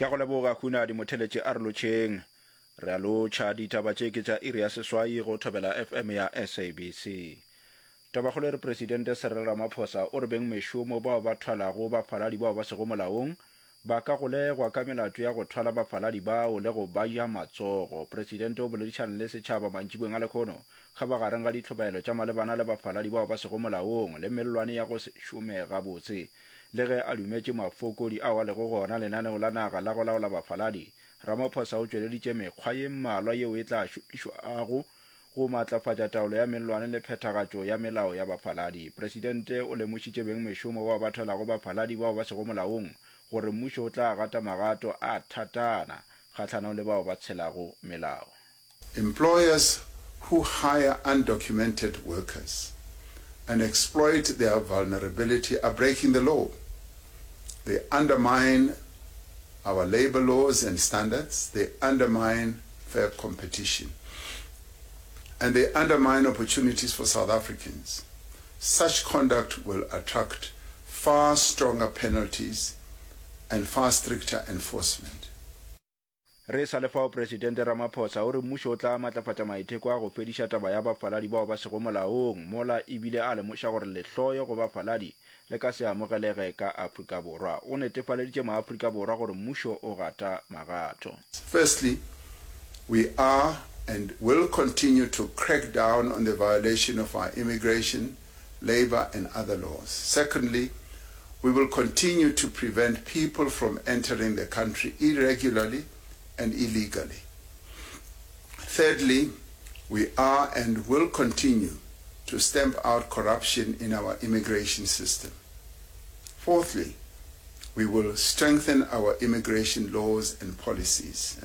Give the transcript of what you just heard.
Ke a go leboga Hunadi Motheletše a re lotšheng. Re a lotšha, ditaba tše ke tša iri ya seswai go Thobela FM ya SABC. Tabakgolo e re Presidente Cyril Ramaphosa o re bengmešomo bao ba thwalago bafaladi bao ba sego molaong ba ka golegwa ka melato ya go thwala bafaladi bao le go ba ja matsogo. Presidente o boledišane le setšhaba mantšiboeng a lekhono kgabagareng ga ditlhobaelo tša malebana le bafaladi bao ba sego molaong le mellwane ya go se šome gabotse. Le ge a dumetše mafokodi ao a lego gona lenaneo la naga la go laola bafaladi, Ramaphosa o tšweleditše mekgwa ye mmalwa yeo e tla šomišwago go matlafatša taolo ya mellwane le phethagatšo ya melao ya bafaladi. Presidente o lemošitše bengmešomo bao ba thwalago bafaladi bao ba sego molaong gore mmušo o tla gata magato a thatana kgahlanong le bao ba tshelago melao. Employers who hire undocumented workers and exploit their vulnerability are breaking the law. They undermine our labour laws and standards, they undermine fair competition, and they undermine opportunities for South Africans. Such conduct will attract far stronger penalties and far stricter enforcement. Re sa le fao, Presidente Ramaphosa o re mmušo o tla matlafatša maiteko a go fediša taba ya bafaladi bao ba sego molaong, mola e bile a lemoša gore lehloyo go bafaladi le ka se amogelege ka Afrika Borwa. O netefaleditše maAfrika Borwa gore mmušo o gata magato. Firstly, we are and will continue to crack down on the violation of our immigration, labour and other laws. Secondly, we will continue to prevent people from entering the country irregularly and illegally. Thirdly, we are and will continue to stamp out corruption in our immigration system. Fourthly, we will strengthen our immigration laws and policies.